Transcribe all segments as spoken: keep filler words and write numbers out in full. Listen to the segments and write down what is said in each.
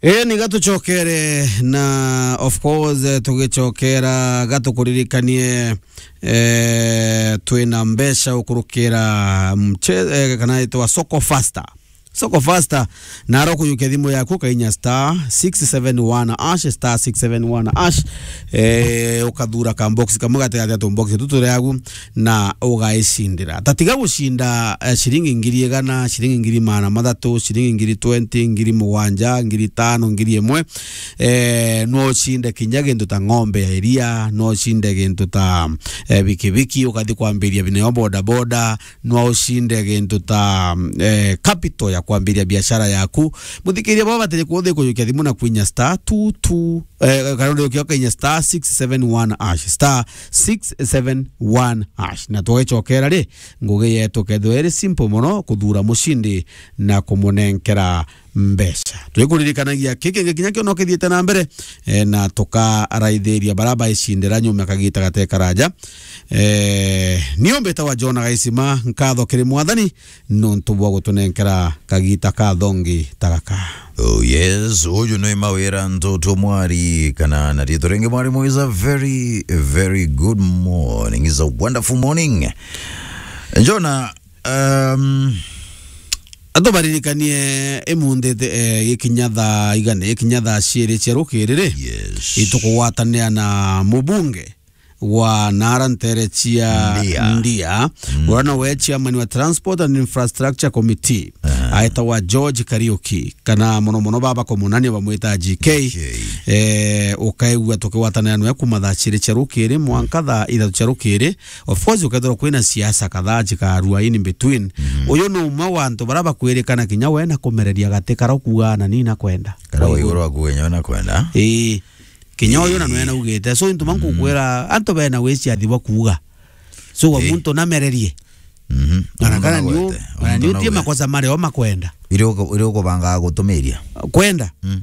Eni gatucokere na, of course, eh, tugicokera gatukuririkanie, eh, twina mbeca ukurukira mche-, eh, kana itwa Soko Faster. Soko Faster, na aro kuyukia thimu yaku kainya star six seven one hash, star six seven one hash, eh, ukathura ka box kamwe gatigati ya tu box tutu riagu, na ugaicindira. Tatiga gucinda, eh, ciringi ngiri igana, ciringi ngiri magana mathatu, ciringi ngiri twenty, ngiri mugwanja, ngiri tano, ngiri imwe. Eh, no ucinde kinya gintu ta ng'ombe ya iria, no ucinde gintu ta, eh, bikibiki, ukathi kwambiria bineo boda boda, no ucinde gintu ta, eh, capital ya kwambiria biashara yaku. Muthikiria baba batiri kuthi kujukia thimu na kwinya star two two, eh, kana uthi ukinya star six seven one hash, star six seven one hash. Na twagicokera ri, ngugi yetu kethirwa iri simple mono, kuthura mucindi na kumunenkera mbeca. Twikuririkanagia kiki kingi kinya kio no kithiite na mbere, eh, na tukaraithiria bara baicindira nyuma kagita gate karaja. Eh, nio mbitawa John Gaisima, nkatho kiri Mwathani nontu bwa gutunenkera kagita ka thongi ta gaka. Oh yes, uyu ni Mawira Ntutu Mwari, kana na riitwa ringi Mwarimu is a very, very good morning, is a wonderful morning. Jona, um, atubaririkanie imunthi, eh, gikinya thaa igana, gikinya thaa ciiri cia rukiri ri, yes, itukugwatanira na mubunge wa nara ntere cia Ndia. Ndia. Mm. Uria nowe chairman wa Transport and Infrastructure Committee. Aha. Aetagwa George Kariuki, kana mono mono baba kumunania bamwita G K. G K. Eh, ukaigua tukigwatanira nwe kuma thaa ciiri cia rukiri mwanka thaa ithatu cia rukiri. Of course, ukethirwa kwina siasa kadhaa cikarua in between. Mhm. Uyu ni umwe wa antu baria bakwirikana kinya we na kumereria gati kara ukuuga na ni na kwenda. Kara wa iguru akuuga kinya we na kwenda. Ii. Kinya uyu na nwe naugite. So, into mankukwira, antu bena wiciathi bwa kuuga. So, wa muntu namererie. Mhm. Kana kana niu, kana niu tie makosa mari o makwenda. Iri uku-, iri ukubangaga gutumiria. Kwenda? Mm.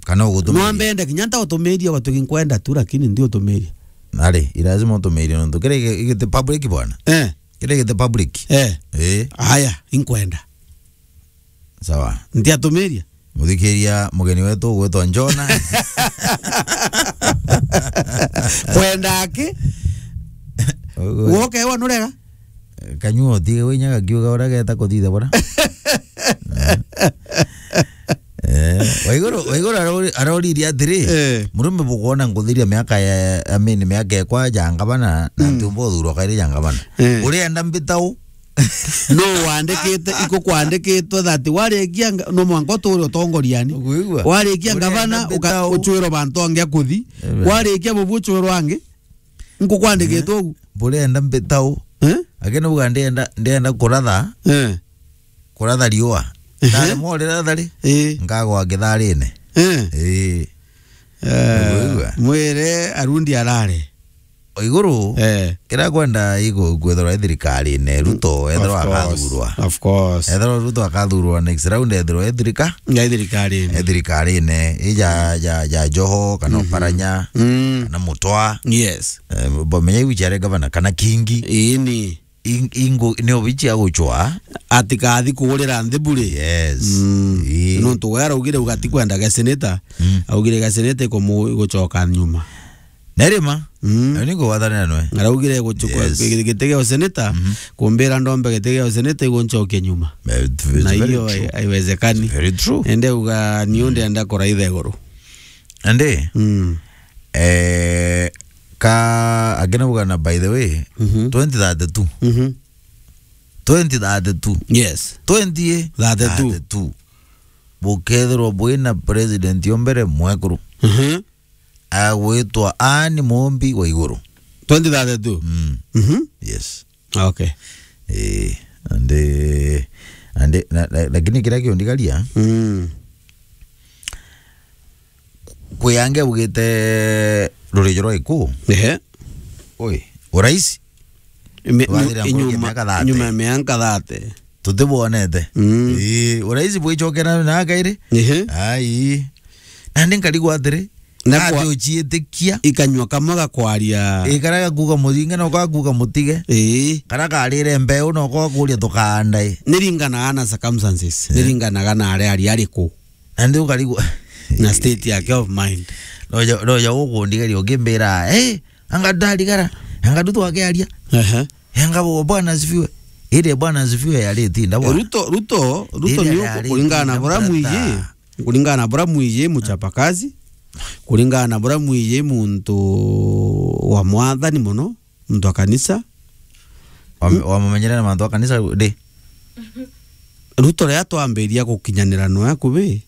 Kana ugutumiria. No ambende kinya nta utumiria, gwatuki nkwenda tu, lakini ndi utumiria. Nari, i lazima utumiria nontu kiri gi-, giti public bwana. Eh. Kiri giti public. Eh. Eh. Aya, inkwenda. Sawa. Ntiatumiria. Muthikiria, mugeni wetu ugwitwa Njona. Kwenda aki? Ugu- Woke wa nurega? Kanyua utige winya gakiuga uria geta kuthitha bura. Eh, Waiguru, Waiguru arori-, aroririe atiri, eh, murume bukwona nkuthiria miaka ya, I mean, miaka ekwa ja ngabana, na mm, ntiumba uthurwa kairi ja ngabana. Eh. Urienda mbitau? No wandikite, iko kwandikitwe that warikia nga-, no mwanka uture utongoriani. Ukwigua? Warikia ngavana, uka-, ucwirwa bantu angi akuthi. Amen. Warikia bubu ucwirwa angi. Nkukwandikitwe ugu. Burenda mbitau. Eh? Akina uga ndienda, ndienda kuratha. Eh. Kuratha riua. Ehe. Ndare more ratha ri. Eh. Ngagwa ngitharine. Eh. Eh. Eh, ukwigua? Mwire arundi arare. Iguru, eh, kira kwenda igu-, kwithirwa i thirikarine, Ruto, mm, ethirwa of course, akathurwa. Of course. Ethirwa Ruto akathurwa next round, ethirwa e thirika-, ya thirikarine. E thirikarine, ija, ja, ja Joho, kana, mhm, Oparanya, mm, kana Mutwa. Yes. Eh, bo menya iu ciare gavana, kana Kingi. Ini. Ing-, ingo, ni obichi aguchwa. Atikathi kugurira nthi bure. Yes. Mm. Ii. Nontu we araugire uga atikwenda ga senator. Mm. Augire ga senator ikumu-, igucoka nyuma. Nerima. Mm. Ayo ni kugwatanira nwe. Araugire guchukua, yes, gi-, giti gia useneta, mhm, kumbira ndombe giti gia useneta iguncoke nyuma. Eh, it's very true. Na hiyo hai-, haiwezekani. Very true. Ende uga ni, mm, ndenda kuraitha iguru. Ande? Mm. Eh, ka, akina uga na, by the way, mhm, twenty thirty-two. Mhm. Twenty thirty-two. Yes. Twenty thirty-two. Thirty-two. Bukethirwa bwina president o mbere mwekuru. Mhm. Agwitwa Anne Mumbi wa iguru. Twenty thirty-two? Mm. Mhm. Yes. Okay. Eh, ande, ande, na, na, lakini kiria kiundigaria, mm, kwi angi augite rurijo rwa Gikuu. Ehe. Oi, urais. Ime-, twathira nkuruki inyuma, miaka thirty. Nyuma ya miaka thirty. Tutibwonete. Mm. Ii, urais bwichokera na kairi? Ehe. Ai. Nandi nkarigwa atiri, na kwa-, ati uchiitikia? Ikanyua kamwe gakwaria. Ii, karia gakuga muringe, no gakuga mutige. Ii. Karia karire mbeu, no gakuria tukaandae. Niringanaga na circumstances. Eh. Niringanaga na aria ari ariku. Nandi ukarigwa. Na state yake of mind. Noja, noja ukundigeria ukimbira, "Eh, anga ndarigara, anga ndu twakiaria." Ehe. Anga bo-, Bwana asifiwe. Ile Bwana asifiwe yari tinda bwana. Ruto, Ruto, Ruto Ile ni yari kuringana na tinda bura brother. Mwiji, kuringana na bura mwiji muchapakazi, kuringana na bura mwiji muntu wa mwathani muno, muntu wa kanisa. Wam-, wamumenyere na mantu a kanisa ndi? Ruto ria twambiria gukinyanira noe akubi.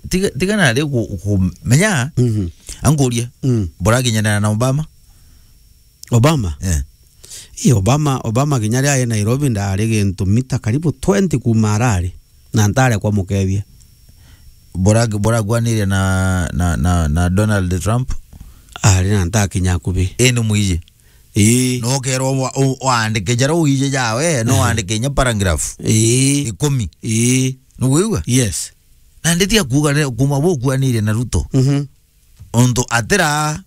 Tiga, tiga nari ku-, kumenya, Mhm. ankurie, Mm. burakinyanira na Obama? Obama? Eh. Ii, Obama, Obama kinya ria ari Nairobi ndari gintu mita karibu twenty kuma arari. Na ntare kwa mukethia. Bura-, burakuaniria na, na, na, na Donald Trump? Ari na ntakinya akubi. Ii ni mwiji. Ii. No ukerwa wa-, u-, waandike jara uiji jawe, no Ehe. waandike inya paragraph. Ii. Ikumi. Ii. Nukwigua? Yes. Na nditi akuga re-, kuma bukuanirie na Ruto. Mhm. Untu atira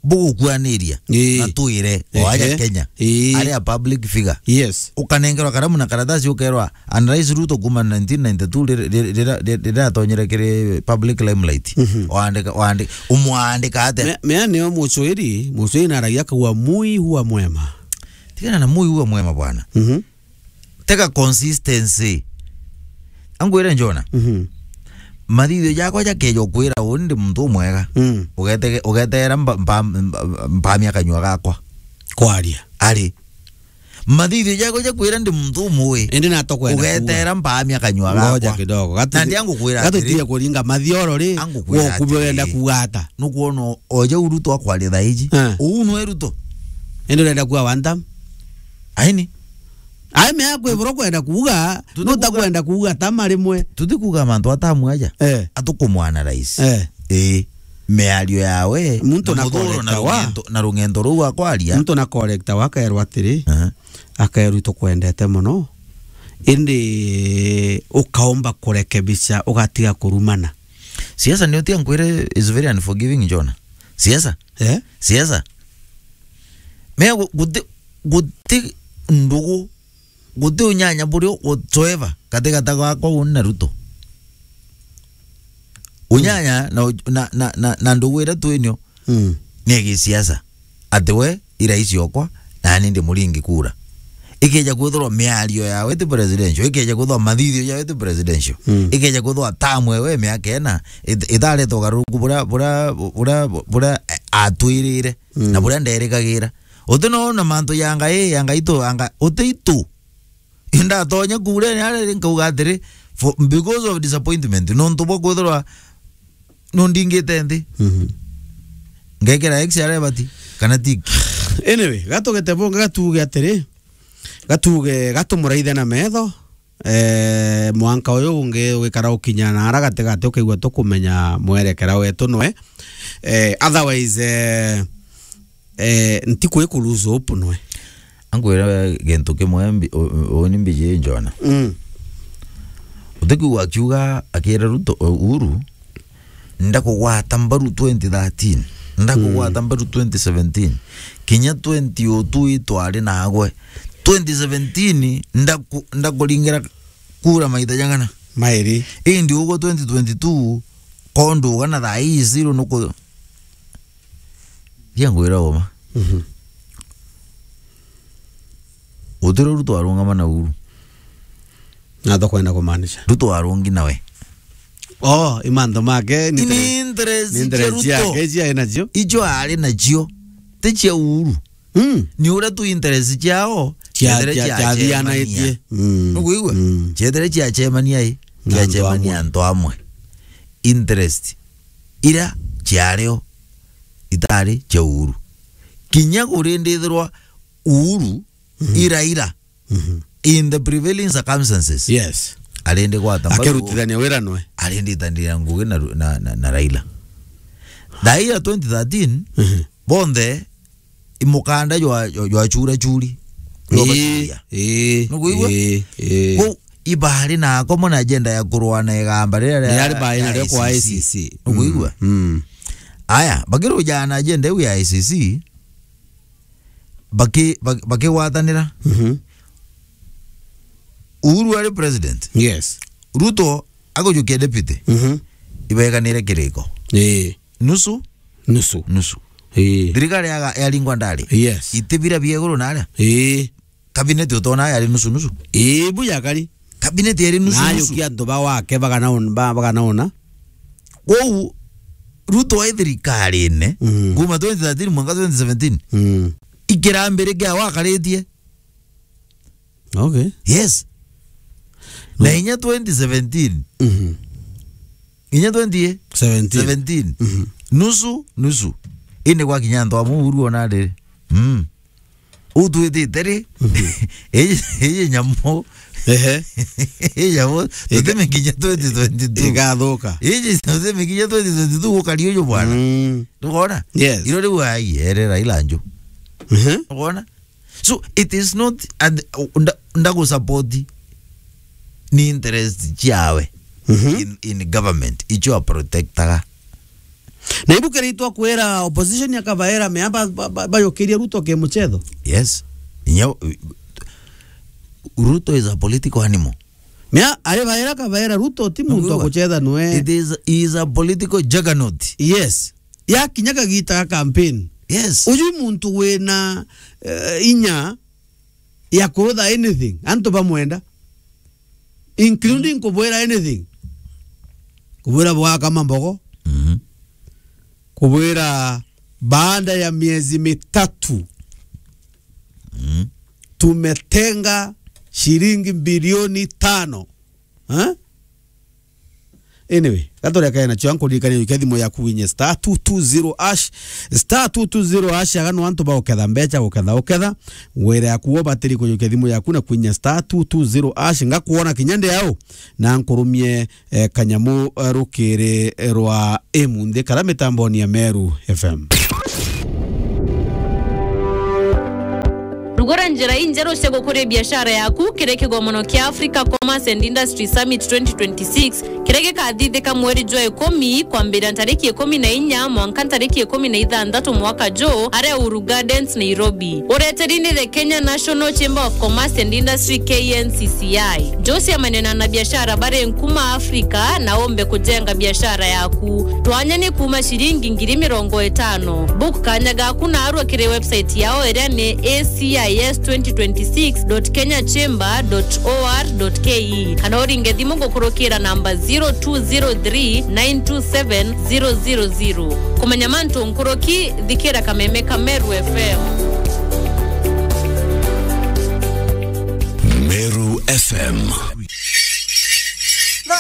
bugukuaniria Ii. na twire o aja Ehe. Kenya. Ii. Ari a public figure. Yes. Ukanengerwa karamu na karatasi ukerwa, and Rais Ruto kuma nineteen ninety-two rira, rira, rira, rira atonyere kiri public limelight. Mhm. Waandika, waandi-, umwandika atia? Me-, mea nio mucwiri, mucwiri naragia akauga, "Mui huwa mwema." Tigana na mui huwa mwema bwana. Mhm. Tega consistency. Angwire Njona. Mhm. Mathithio jakwa jakeja ukwira uni ndi muntu umwega. Mm. Ugetege-, ugetera mba-, mba-, mba-, mpamia kanyua gakwa. Kwaria. Ari. Mathithio jakwa jakwira ndi muntu umwe. Indi natokwenda kuuga. Ugetera mpamia kanyua Ngoja gakwa. Kidogo. Gatu-, Na ndi angukwira atiri. Gatutige kuringa mathioro ri, Angukwira wokubi urenda atiri. Kuuga ata? Nukwona oja Ruto akwaria thaiji. Eh. Uu nwe Ruto. Indi urenda kuuga one term? Aini. Ai, mea kwibura kwenda kuuga, Tuti nuta kuuga kwenda kuuga tama rimwe. Tuti kuuga mantu atamu aja. Eh. Atukumwana rais. Eh. Ii. Miario yawe, Muntu na na muthuro na correcta wa. Rung'ento, na rung'ento ruu akwaria. Muntu na correcta wa akaerwa atiri, Aha. Akaerwa tukwendete muno. Indi ukaomba kurekebisha, ugatiga kurumana. Siasa ni utia nkwire is very unforgiving, Jona. Siasa? Eh? Siasa. Mea gu-, guti, guti ndugu, guti unyanya burio whatsoever katigata gakwa uni na Ruto. Unyanya na, na, na, na, na ndugu iria twinio Mm. ni ya gisiasa. Ati we i rais okwa, nani ndi muringi kura. Ikeja kwithirwa miario yawe ti presidential, ikeja kwithirwa mathithio jawe ti presidential, Mm. ikeja kwithirwa tamu ewe miaka ena, it-, itareta ugaruruku buria, buria, buria, buria, eh, atwirire, Mm. na buria nderikagira. Uti no na mantu ya Ngai, ya Ngai tu, anga, uti itu. Indatonya kurene aria ri nkauga atiri, for, because of disappointment, nontu bwa kwithirwa nundingite nthi. Mhm. Ngekira X aria bati, kana tiki. Anyway, gatugete bunga gatuge atiri, gatuge gatumuraithe na metho, eh, mwanka uyu ungi wikara ukinya na ara gatigati ukaigua tukumenya mwerekera wetu nwe. Eh, otherwise, eh, eh, ntiku iku lose hope nwe. Ankwira gintu kimwe mbi-, u-, u-, uni mbiji Jona. Mm. Utikwigua akiuga, akira Ruto, Uhuru, "Ndakugwata mbaru twenty thirteen, ndakugwata Mm. mbaru twenty seventeen, kinya twenty oh two itwari nagwe. Twenty seventeen ndaku-, ndakuringira kura maita jang'ana." Mairi. Indi ugwe twenty twenty-two, kondu ugana thaa ii zero nuku-, Ria ngwira uma. Mhm. Gutiri Ruto arungama na Uhuru. Na tukwenda kumaanisha. Ruto arungi nawe. Oh, i mantu make, ni Ni interest, interest ni interest cia Ruto. Ciake, cia ari nacio. Icio ari nacio. Ti cia Uhuru. Mm. Ni uria tu interest ciao, Cia-, ciethire cia-, cia ciathianaitie. Cemania. Mm. Nukwigua? Mm. Ciethire cia cemania i, Na cia antu cemania amwe. Antu amwe. Interest. Ira ciario itari cia Uhuru. Kinya kurindithirwa Uhuru, Mhm. ira ira, Mhm. in the prevailing circumstances, Yes. arindi gwata mbaru, Akirutithania wira nwe. Arindi itanira ngugi na, na, na, na Raila. Thaa ii ya twenty thirteen, Mhm. bonthe i mukanda jwa, jwa, jwa chura churi. Ii, ii, Nukwigua? Ii, ii. Kwou ibari na akomwe na agenda ya kurwa na igamba riria ria Riari bai na rio kwa I C C. I C C. Nukwigua? Mm, mm. Aya, bakirujaa na agenda iu ya I C C, baki-, baki-, bakigwatanira. Mhm. Uhuru ari president. Yes. Ruto agujukia deputy. Mhm. Ibeganire kiriko. Ii. Nusu? Nusu. Nusu. Ii. Thirikari yaga-, yaringwa ndari? Yes. Itibira bia iguru naria? Ii. Cabinet utona yari nusu nusu? Ii, bu yakari. Cabinet yari nusu nusu. Nayo kia antu ba wake baganaona, ba-, baganaona. Kwou, Ruto e thirikarine, mm, kuma twenty thirteen mwanka twenty seventeen. Mm. Ikirambirikia wakaritie. Okay. Yes. No. Na inya twenty seventeen. Mhm. Inya twenty, eh? Seventeen. Seventeen. Mhm. Nusu, nusu. Indi gwakinya antu amwe uru ona riri. Mm. Utwitite ri? Mhm. Iji, iji nyamu. Ehe. Iji nyamu. Ika-, tutime kinya twenty twenty-two. Igathuka. Iji tutime kinya twenty twenty-two gukari uju bwana. Mm. Ndukona? Yes. Iro riu ai, ere Raila nju. Mhm. Ndukona? So, it is not, and, uh, nda-, ndagusupport ni interest ciawe, mhm, in, in government, icio a protectaga. Na ibu kiri itwa kwira opposition akabaira mea ba-, ba-, ba-, bayukirie Ruto ke muchetho. Yes. Inya, Ruto is a political animal. Mea, ari baira kabaira Ruto ti muntu wa kuchetha nwe. It is, he is a political juggernaut. Yes. Yakinya kagita ga campaign. Yes. Uju muntu wina, eh, inya ya kurutha anything, antu bamwenda, including kubwira anything. Kubwira bwaka mambogo. Mhm. Kubwira baada ya miezi mitatu, mhm, tumetenga shilingi bilioni tano. Eh? Anyway, gaturekae nacio, ankuririkania ujukia thimu yaku winye star two two zero hash, star two two zero hash, aga no antu ba uketha mbecha, uketha, uketha, wira yaku wo batiri kujukia thimu yaku na kwinya star two two zero hash, ngakuona kinya ndi au, na nkurumie, eh, kanyamu, eh, rukiri, eh, rwa imunthi kara mitamboni ya Meru F M. Rugura njira injeru cia gukuria biashara yaku kiri kigomono kia Africa Commerce and Industry Summit twenty twenty-six, kiria gikathithika mweri jwa ikumi, kwambira ntariki ikumi na inya mwanka ntariki ikumi na ithanthatu mwaka juu, aria Uhuru Gardens, Nairobi. Ureteri ni the Kenya National Chamber of Commerce and Industry, K N C C I. Njuciamania na anabiashara bari nkuma Africa na umbe kujenga biashara yaku. Twanya ni kuma ciringi ngiri mirongo itano. Book kanya gaku narua kiri website yao iria ni A C I S twenty twenty-six dot kenya chamber dot O R dot K E, kana uringe thimu gukurukira namba zero two zero three nine two seven zero zero zero. Kumenya mantu nkuruki, thikira kameme ka Meru F M. Meru F M.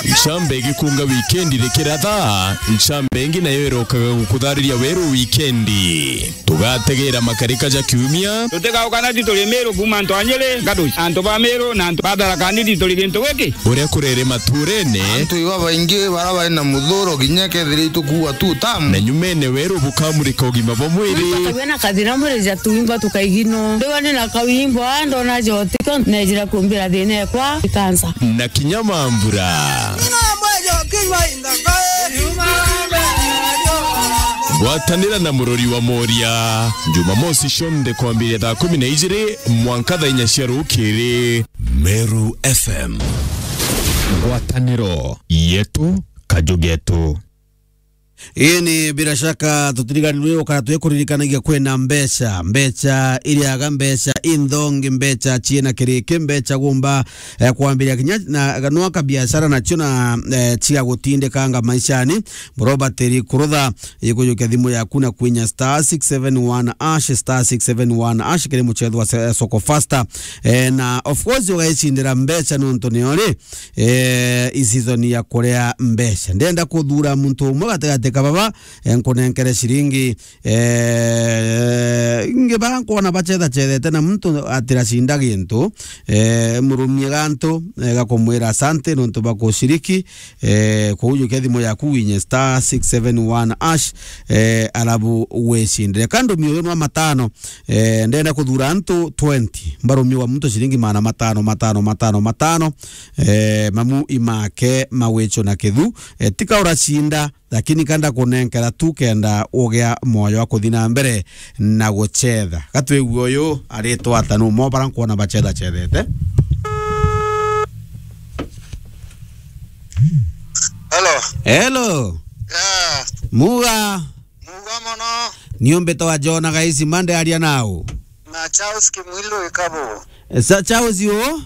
Ncambe igikunga wikendi rikiratha, ncambe ingi nayo irokaga gukuthariria weru wikendi. Tugategera makarika ja kiumia. Tutigaukana ti turi Meru kuma antu a Nyeri, Gaduci, antu ba Meru na antu ba Tharaka Nithi turi gintu giki. Uria kurere maturene. Antu iba baingi bara bari na muthuro kinya kethira itukuua tu tamu. Na nyumene weru bukamurika ugima bwa mwiri. Muntu akagĩa na kathĩna mwĩrĩ ja tũimba tũkaigino. Ndĩwa nĩ na kawimbo, ndona jotiko, nejĩra kũmbĩra thĩna ekwa, ikansa. Na kinya mambura. Gwatanĩra na mũrori wa Moria, Jumamosi cionthe kwambĩrĩria thaa kũmi na igĩrĩ mwanka thaa inya cia rũkĩrĩ. Meru F M. Ngwatanĩro yetu, kaju getu. Ii ni bila shaka tutiriganirwe ukara twikuririkanagia kwina mbeca, mbeca iriaga, mbeca inthongi, mbeca ciina kiriki, mbeca gumba, eh, kwambiria kinya na, no aka biashara nacio na, eh, ciga gutindikanga maishani. Murobatiri kurutha, ikujukia thimu yaku na kwinya star six seven one hash, star six seven one hash kiri muchetho wa se-, Soko Faster. Eh, na of course ugaicindira mbeca nontu nio ri, eh, i season ya kuria mbeca. Ndenda kuthura muntu umwe gatigati ka baba, eh, nkunenkere ciringi, eh, ngi ba nkwona bacethacethete na muntu atiracinda gintu, eh, murumie gantu, eh, gakumwira asante nontu bwa kushiriki, eh, kuujukia thimu yaku winye star six seven one hash, eh, alafu wicindire. Ka ndumie uyu nwa matano, eh, ndenda kuthura antu twenty, mbarumiwa muntu ciringi magana matano, matano, matano, matano, eh, mamu imake mawicho na kithu, eh, tika uracinda, lakini kanda kunenkera tu kenda ugia moyo wa kuthi na mbere na gucetha. Gatwigue uyu aritwa ata, nu mo bara nkwona bacethacethete. Hello. Hello. Ah, Muga. Muga mono. Niumbitwa Jona Gaisi, mande aria nau. Na Charles Kimwilu Ikabo. Eh, Sa-, Charles u?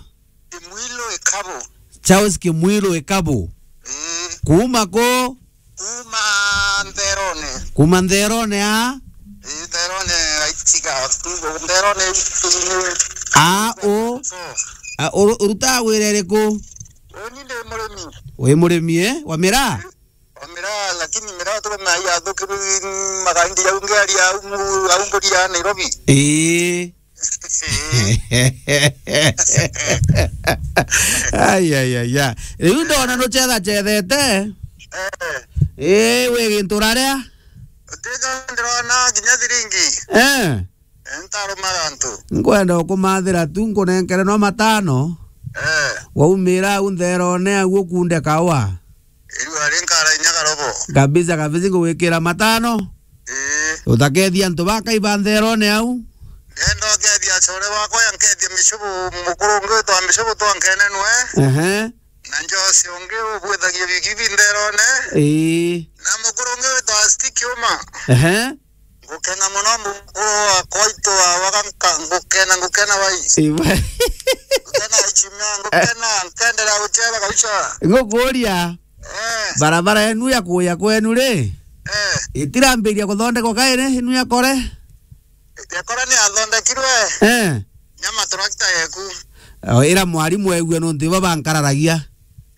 Kimwilu Ikabo. Charles Kimwilu Ikabo. Eh. Kuuma ku? Kuuma Ntherone. Kuuma Ntherone a? Eh, Ntherone aitiga. Ntherone. A, u? So. A, uru-, urutaga wira iriku? Uni ndi murimi. Wi murimi, eh? Wa miraa? Miraa, lakini miraa tuko na ya thukiru magaindi ya ungeri ya ungu, ya ungu ya Nairobi. Ii. Ai, ai, ai, ai. Riu ndona nucetha cethete. Eh. Ii, wi gintu raria? Tiga ndirona kinya thiringi. Eh. Ntaruma gantu. Nkwenda ukumathira tu, nkunenkere no matano. Eh. Waumira au ntherone au ukunde kawa. Irua rinkara inya karobo. Kabisa, kabisa, ngugwikira matano. Ii. Utakethia antu bakaiba ntherone au. Ndenda ukethia acore wakwa, ya nkethia micubu, mukuru ungi witwa micubu twankenenwe. Ehe. Na njosi ungi ubwithagia bigibi ntherone. Ii. Na mukuru ungi witwa Stiki Uma. Ehe. Ngukena mono mukuru wakwa itu wa waganka, ngukena, ngukena wai. Iwe. Ngukena ichimia, ngukena, nkendera guchera kabisa. Ngukuria, eh, barabara yenu ya kuya kwenu ri? Eh. Itirambiria kuthondekwa kairi inu ya kore? Ya kore ni yathondekirwe. Eh. Nya maturakita yeku. O, ira mwarimu egue nontu ibo bankararagia.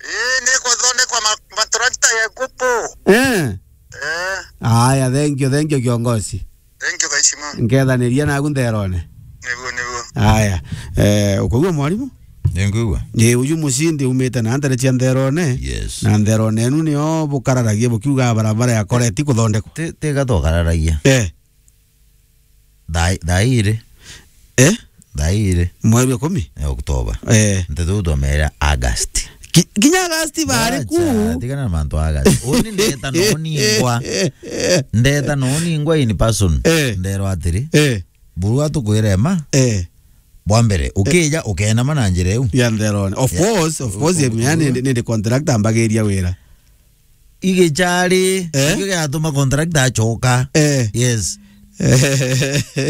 Ii, ni kuthondekwa ma-, maturakita yeku pu. Eh. Eh. Aya, thank you, thank you, kiongozi. Thank you, Kaishima. Nkethaniria naku ntherone. Niguo, niguo. Aya, eh, ukaigua mwarimu? Ninkwigua. Ii, uju mucindi umite na ndere cia ntherone. Yes. Na ntherone enu nio bukararagia bukiuga barabara ya kore ti kuthondekwa. Ti, tiga tukararagia. Eh. Thaa, thaa iri. Eh? Thaa iri. Mweri wa ikumi? Ya Oktoba. Eh. Ntetu twamera August. Ki-, kinya August bari ku. Acha, tigana na mantu a August. Uni ndeta no ningwa. Ndeta no ningwa in person. Eh. Nderwa atiri. Eh. Burua tukwire ma. Eh. Bwa mbere, ukija, ukenama na njira iu. Ya ntherone. Of course, of course, yani, nindi contractor ambagiria wira. Igichari, eh? Ikio giatuma contractor acoka. Eh. Yes.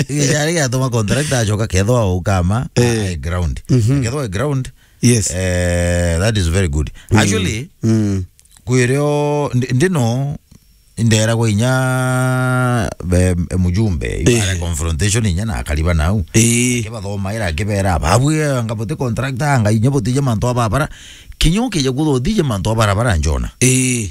Igichari giatuma contractor acoka, kethwa ukama, eh, a-, a ground. Mhm. Kethwa ground, yes, eh, that is very good. Mm. Actually, mm, kwirio, ndi-, ndino, nderagwa inya, eh, mujumbe, eh, ibara confrontation inya na akariba nau. Eh. Akibathomaira, akibera, babwi, anga buti contractor, anga inya butije mantu a babara. Kinya ukija kuthuthije mantu a barabara njona. Eh.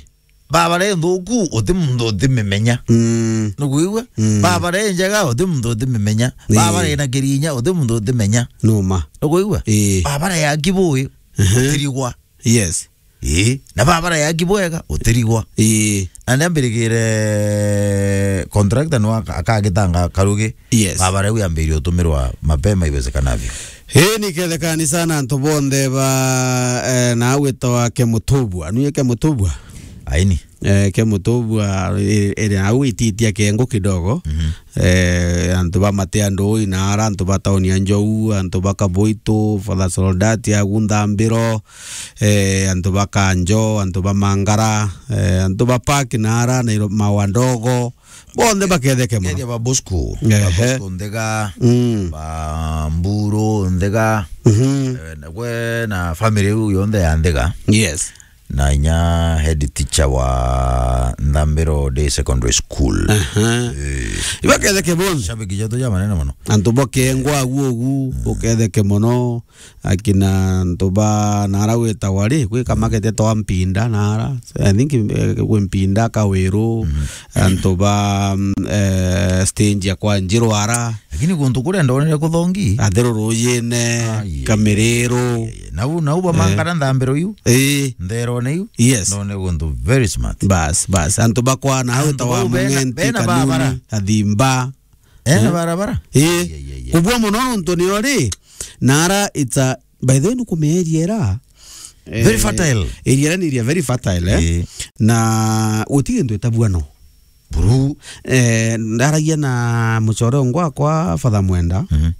Babara inthuku, uti muntu utimimenya. Mm. Nukwigua? Mm. Babara injega, uti muntu utimimenya. Ii. Babara ina kirinya, uti muntu utimenya. Numa. Nukwigua? Ii. Babara ya kibui, ehe, utirigwa. Yes. Ii. Na babara ya kibwega, utirigwa. Ii. Na niambirigire contractor no aka-, akagitanga karugi. Yes. Babara iu yambirie utumirwa mapema iwezekanavyo. Ii, ni kethekani sana antu bonthe ba, eh, na agwitawa Kemutubwa. Nuye Kemutubwa? Aini. Eh, Kemutubwa, eh, iri au ititia kengo kidogo. Mhm. Eh, antu ba Matea Ndui na ara, antu ba tauni ya Njou, antu ba Kaboito, Father Soldati agu Nthambiro, eh, antu ba Kanjo, antu ba Mangara, eh, antu ba Park na ara, Nairo-, Mawa Ndogo, bonthe baketheke mono. Kethia ba Bosco, ba, ehe, Bosco Nthega, mm, ba Mburu Nthega, mhm, eh, na gwe na family iu yonthe ya Nthega. Yes. Na inya head teacher wa Nthambiro Day Secondary School. Aha. Eh. Ibaketheke bonthe. Shabiki jetu ja manene mono. Antu bokengwa agu ugu, mm, buketheke mono. Akina antu ba nara gwitagwa ri, gwi kamakete twa Mpinda nara. I think, eh, gwi Mpinda, Kawiru, mhm, antu ba, mm, eh, stage ya kwa Njiru ara. Lakini guntu kuria ndonere kuthongi. Athiru Rujine, ai, ai, Kamiriru. Ai, ai. Nau, nau ba, eh, Mangara Nthambiro iu. Ii. Ntherone iu. Yes. Ndone guntu very smart. Bas, bas. Antu bakwa na au ta wa bau bena, Mung'enti, bena Kanuni, barabara. Athimba. Ena, eh, barabara? Ii. Ai, ai, ai, ai. Kubua mono nontu nio ri, nara it's a, by the way, nukumenya area era. Very, eh, fertile. Area era ni area very fertile, eh? Ii. Na guti gintu itabua no. Buru. Eh, ndaragia na mucore ungi wakwa Father Mwenda. Mhm.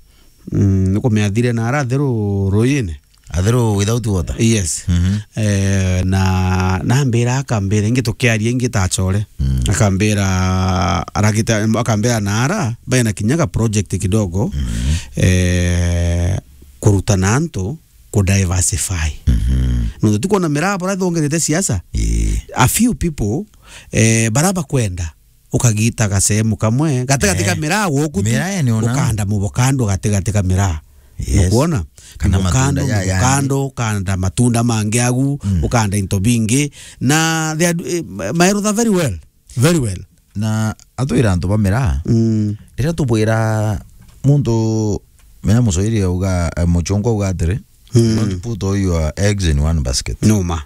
Mm, nukumenya athire na ara Athiru Ruyine. Atheru without water? Yes. Mhm. Eh, na, na ambira, akambira, ingi tukiaria, ingi ta achore. Mm. Akambira, aragita, akambira, na ara, baina kinyaga project kidogo, mm, eh, kurutana antu ku diversify. Mhm. Nontu tukwona miraa bora thongerete siasa. Ii. A few people, eh, bara bakwenda ukagita gasehemu kamwe gatigati ka, eh, miraa guku tu, miraa ene ona, ukanda mubokando gatigati ka miraa. Yes. Nukwona? Kana mubokando, matunda ya, ya mubokando, ukanda matunda mangi agu, mm, ukanda into bingi. Na they are, eh, ma-, my brother very well. Very well. Na atwira antu ba miraa, mm, riria tubwira muntu, menya Muswahili auga, eh, muchungu auga atiri, mm, "Don't put all your eggs in one basket." Numa.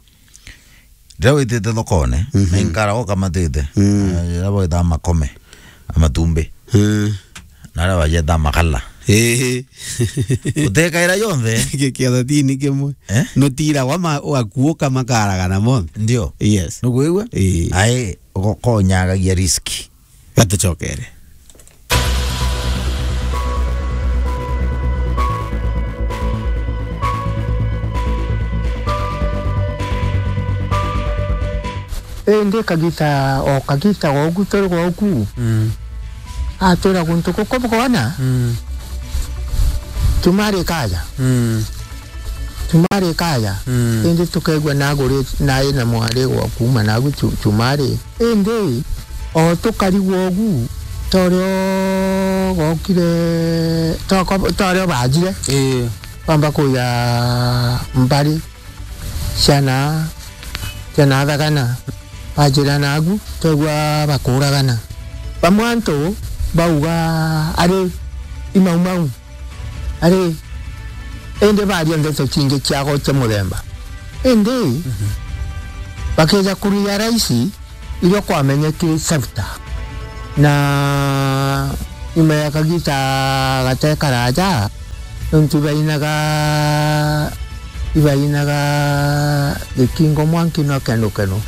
Riria witite thokone, mhm, na inkara ukamatite, mm, eh, riria bagwita makome, a matumbi. Mm. Na aria bajeta makala. Ii. Utekaira yonthe. Ki-, kiathatini kimwe. Eh? Nutiragwa ma-, ugakuuka makaragana monthe. Ndio. Yes. Nukwigua? Ii. Ai, ugo-, konyagagia risk. Gatucokere. Indi kagita, o kagita goku turi goku. Mm. Atwira guntu guku bukona. Mm. Chumari kaja. Mm. Chumari kaja. Mm. Indi tukegua naguri, nai na mwari gwa kuma nagu chu-, chumari. Indi o tukarigwa ugu, torio gokire, toko-, torio bajire. Ii. Bamba kuya mbari. Ciana, ciana thagana, bajirana agu, twegua bakuragana. Bamwe antu bauga ari imaumau, ari indi baria ndeto cingi ciago cia muthemba. Indi, mhm, bakija kuria raisi, irio kwamenyekire chapter. Na nyuma ya kagita gate karaja, nontu ibainaga, ibainaga gikingo mwanki no kenu kenu.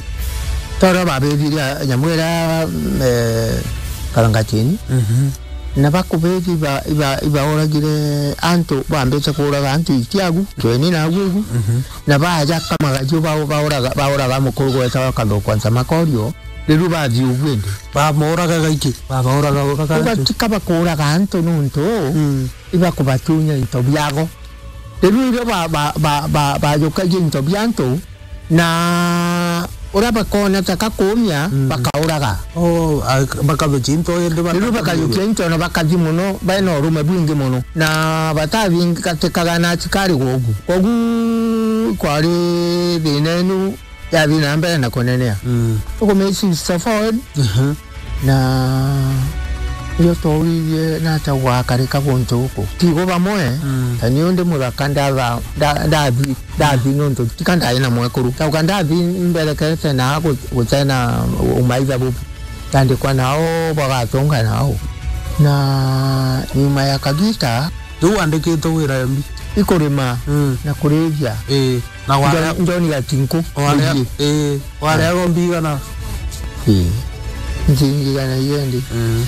Toro babithire nyamu iria, eh, karangatini. Mhm. Na bakubithi iba-, iba-, ibauragire antu, bambite kuuraga antu ikiagu, kweni nagu igu. Mhm. Na baja kamagacio bao-, bauraga, bauraga mukuru gwetawa Kathukwa Ntamakorio, riu bathi ugu indi. Bamoraga gaiki, babauraga uraga antu. Ugatika bakuuraga antu nontu, mm, ibakubatunya into biago. Riu irio ba-, ba-, ba-, ba-, bajukagia into bia antu, na uria bakona ta kakumia, mm, bakauraga. Oh, a-, bakajukia into indi baka-, riu bakajukia into na bakathi muno, baina urume bwingi muno. Na batathingatikaga na asikari guku. Kogu kwari thina inu yathi na mbere na kunenea. Mm. Tukumeci forward. Mhm. Na irio twaurithie nata gwakarika guntu guku. Tigo bamwe, mm, ta niu ndi muthaka ndatha-, nda-, ndathi, ndathi nontu tika ndai na mwekuru. Tauka ndathi mberekete na gu-, gutena umaitha bubu. Ndandikwa nao bagatunga nao. Na nyuma ya kagita, riu wandikite wira mbi? Ikurima, mm, na kurithia. Ii. Na warea John, John Gatinku. Warea, ii, wareaga mbigana? Ii. Nchiringi igana igana ndi. Mm.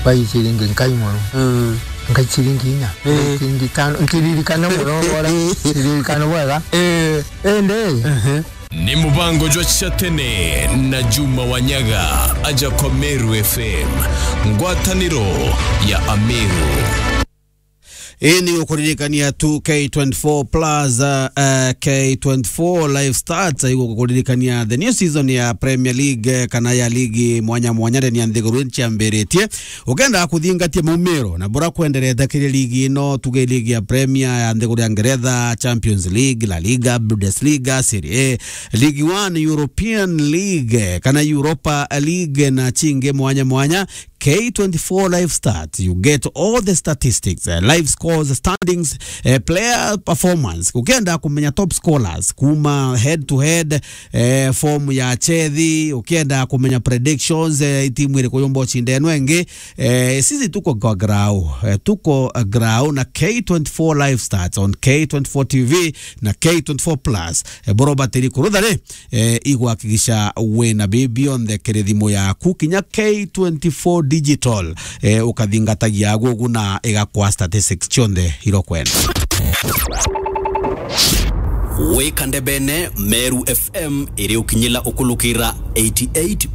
Bai ciringi nkai mono. Mm. Nkai ciringi inya. Ii. Ciringi itano. Ntiririkana mono bora. Ntiririkana bwega. Ii. Indi. Ehe. Ni mubango jwa cia tene na Juma Wanyaga, aja kwa Meru F M, ngwataniro ya Ameru. Ii ni gukuririkania tu K twenty-four plus, uh, uh, K twenty-four Live Stats, igukuririkania the new season ya Premier League, eh, kana ya ligi mwanya mwanya ndeni ya nthiguru iciambiritie. Ukenda kuthingatia maumiro na bura kwenderete kiri ligi ino, tuge ligi ya Premier ya nthiguru ya Ngeretha, Champions League, La Liga, Bundesliga, Serie A, League One, European League, eh, kana Europa League na cingi mwanya mwanya, K twenty-four Live Stats, you get all the statistics, eh, live scores, standings, eh, player performance. Ukienda kumenya top scorers kuma head to head, eh, form ya chethi, ukienda kumenya predictions, eh, timu iriku yumba ucinda ino ingi, eh, sisi tuko kwa grau, eh, tuko, eh, grau na K twenty-four Live Stats on K twenty-four T V na K twenty-four plus. Eh, boro batiri kurutha ri, eh, igwakikisha wina bibi onthe kiri thimu yaku, kinya K twenty-four Digital, eh, ukathingatagia agu ugu na igakwa statistics cionthe irokwenda. Wika ndebene, Meru F M iri ukinyila ukulukira eighty-eight